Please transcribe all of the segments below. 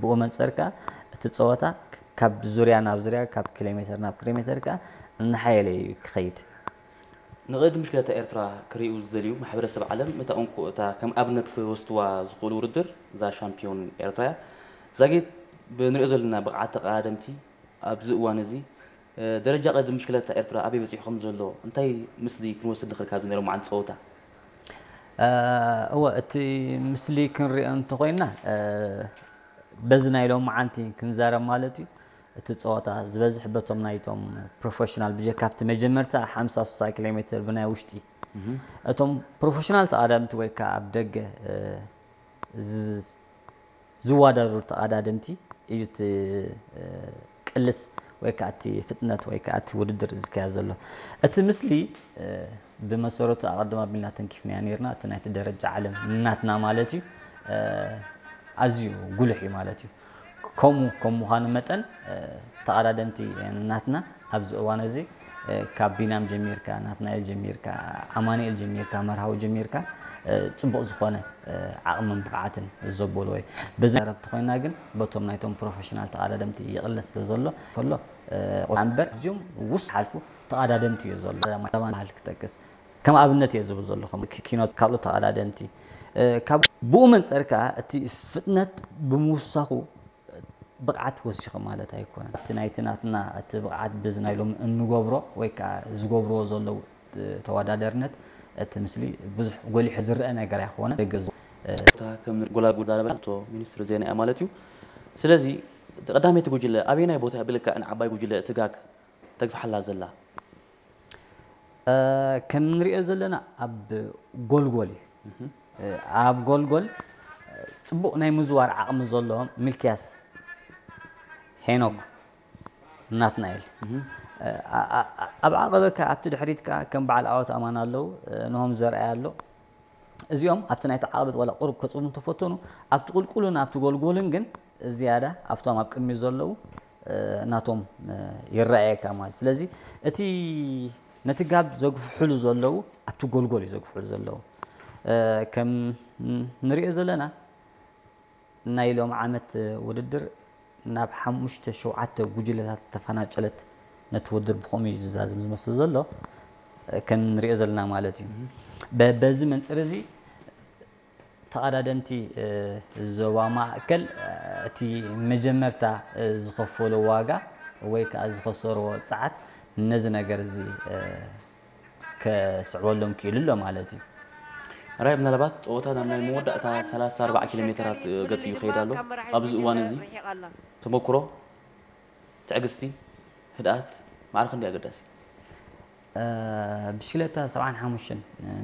ብኡ መንጸር ከኣ እቲ ጸወታ ካብ ዙርያ ናብ ዙርያ፣ ካብ ኪሎ ሜተር ናብ ኪሎ ሜተር ከኣ እናሓየለ እዩ ክኸይድ። ንቕድድም ብሽክለታ ኤርትራ ክርእዩ ዝደልዩ ማሕበረሰብ ዓለም እታ እንኮ እታ ከም ኣብነት ክወስድዋ ዝኽእሉ ውድድር እዛ ሻምፒዮን ኤርትራ እያ። ዛጊት ብንሪኦ ዘለና ብቕዓት ተቐዳደምቲ ኣብዚ እዋን እዚ ደረጃ ቅድድም ብሽክለታ ኤርትራ ኣበይ በጺሑ ከም ዘሎ እንታይ ምስሊ ክንወስድ ንኽእል ካብዚ ናይ ሎማዓንቲ ጸወታ? እወ እቲ ምስሊ ክንሪኦ እንተኾይና በዚ ናይ ሎማዓንቲ ክንዛረብ ማለት እዩ። እቲ ፀወታ ዝበዝሕ በቶም ናይቶም ፕሮፌሽናል ብጀካ ኣብቲ መጀመርታ ሓምሳ ስሳ ኪሎ ሜትር ብናይ ውሽጢ እቶም ፕሮፌሽናል ተቐዳደምቲ ወይ ከዓ ኣብ ደገ ዝዋዳደሩ ተቐዳደምቲ እዩ እቲ ቅልስ ወይ ከዓ እቲ ፍጥነት ወይ ከዓ እቲ ውድድር ዝካየድ ዘሎ። እቲ ምስሊ ብመሰረቱ ኣቐድም ኣቢልና ተንኪፍናዮ ነይርና። እቲ ናይቲ ደረጃ ዓለም ናትና ማለት እዩ ኣዝዩ ጉልሕ እዩ ማለት እዩ። ከምኡ ከም ምዃኑ መጠን ተቐዳደምቲ ናትና ኣብዚ እዋን እዚ ካብ ቢናም ጀሚርካ፣ ናትናኤል ጀሚርካ፣ ኣማኑኤል ጀሚርካ፣ መርሃዊ ጀሚርካ ፅቡቕ ዝኾነ ዓቕምን ብቕዓትን ዘበልዎ እዩ። በዚ ረብቲ ኮይና ግን በቶም ናይቶም ፕሮፌሽናል ተቐዳደምቲ ይቕለ ስለ ዘሎ ከሎ እምበር እዚኦም ውስ ሓልፉ ተቐዳደምቲ እዩ ዘሎ። ማል ክጠቅስ ከም ኣብነት እየ ዝብል ዘለኹ ኪኖት ካልኦት ተቐዳደምቲ ካብ ብኡ መንፀር ከዓ እቲ ፍጥነት ብምውሳኹ ብቕዓት ወሲኹ ማለት ኣይኮነን። እቲ ናይቲ ናትና እቲ ብቕዓት ብዚ ናይ ሎሚ እንገብሮ ወይ ከዓ ዝገብርዎ ዘለዉ ተወዳደርነት እቲ ምስሊ ብዙሕ ጎሊሑ ዝረአ ነገር ኣይኮነ ደገ ዝ- እታ ከም ጎላጉል ዛረበ እቶ ሚኒስትር ዜና እያ ማለት እዩ። ስለዚ ቀዳመይቲ ጉጅለ ኣበየናይ ቦታ ብልክዕ ንዓባይ ጉጅለ ትጋግ ተግፍሓላ ዘላ? ከም ንሪኦ ዘለና ኣብ ጎልጎል እዩ። ኣብ ጎልጎል ፅቡቕ ናይ ምዝዋር ዓቕሚ ዘለዎም ሚልክያስ ሄኖክ ናትናኤል ኣብ ዓቐበካ ኣብቲ ድሕሪት ከዓ ከም በዓል ኣወት ኣማን ኣለዉ። ንሆም ዘርኣይ ኣሎ። እዚኦም ኣብቲ ናይቲ ዓቐበት ዋላ ቁሩብ ከፅቡ እንተፈተኑ ኣብቲ ቁልቁልን ኣብቲ ጎልጎልን ግን ዝያዳ ኣብቶም ኣብ ቅድሚት ዘለዉ ናቶም ይረኣየካ ማለት። ስለዚ እቲ ነቲ ጋብ ዘግፍሕሉ ዘለዉ ኣብቲ ጎልጎል እዩ ዘግፍሕሉ ዘለዉ። ከም ንሪኦ ዘለና ናይ ሎም ዓመት ውድድር ናብ ሓሙሽተ ሸውዓተ ጉጅለታት ተፈናጨለት። ነቲ ውድድር ብኸምኡ እዩ ዝዛዝም ዝመስል ዘሎ ከም ንሪኦ ዘለና ማለት እዩ። በዚ መንፅር እዚ ተቐዳደምቲ ዞባ ማእከል እቲ መጀመርታ ዝኸፈሎ ዋጋ ወይ ከዓ ዝኸሰርዎ ፀዓት ነዚ ነገር እዚ ከስዕበሎም ክኢሉ ኣሎ ማለት እዩ። ራይ ምናልባት ፀወታ ናብ ናይ መወዳእታ ሰላሳ ኣርባዓ ኪሎ ሜትራት ገፂ ይኸይድ ኣሎ። ኣብዚ እዋን እዚ ተመክሮ፣ ትዕግስቲ፣ ህድኣት ማዕረ ክንደይ ኣገዳሲ? ብሽክለታ ሰብዓን ሓሙሽተን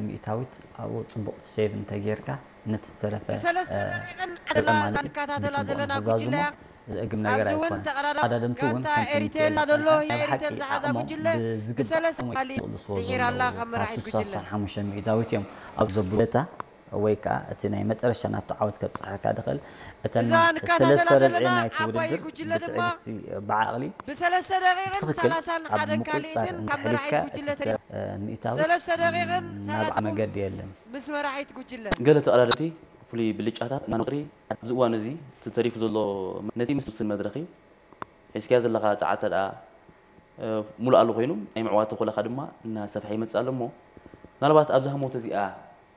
ሚእታዊት ኣብኡ ፅቡቕ ሴቭ እንተጌርካ ነቲ ዝተረፈ ብሰለስተ ደቂቕን ዓሰርተ ማለት እዩ ብፅቡቕ ንክዛዝሞ ዘእግም ነገር ኣይኮነን። ተቐዳደምቲ እውን ከምቲ ንሪኦ ዘለና ናይ ብሓቂ ዓቕሞም ብዝግባእ ይቕልስዎ ዘለዉ ካብ ስሳ ሓሙሽተ ሚእታዊት እዮም ኣብ ዘብሉታ ወይ ከዓ እቲ ናይ መጨረሻ ናብቲ ዓወት ከብፅሓካ ድኽእል እተን ሰለስተ ረብዒ ናይቲ ውድድር ብትዕግስቲ ብዓቕሊ ብሰለስተ ደቂቕን ብትኽክል ሰላሳን ኣብ ሓደ ምቁፅፃር ካልኢትን ካብ መራሒት እንተሕሊፍካ እቲ ጉጅለ ሰብ ሚእታዊ ሰለስተ ደቂቕን ናብ ሰላሳ መገዲ የለን። ምስ መራሒት ጉጅለ ገለ ተቐዳደምቲ ፍሉይ ብልጫታት እናነቑሪ ኣብዚ እዋን እዚ እቲ ተሪፉ ዘሎ ነቲ ምስ ዝውስን መድረኽ እዩ። ሒዝካዮ ዘለኻ ፃዕተ ደኣ ሙሉእ ኣሉ ኮይኑ ናይ ምዕዋት ተኾለኻ ድማ እናሰፍሐ ይመፅእ ኣሎ እሞ ምናልባት ኣብዛ ህሞት እዚኣ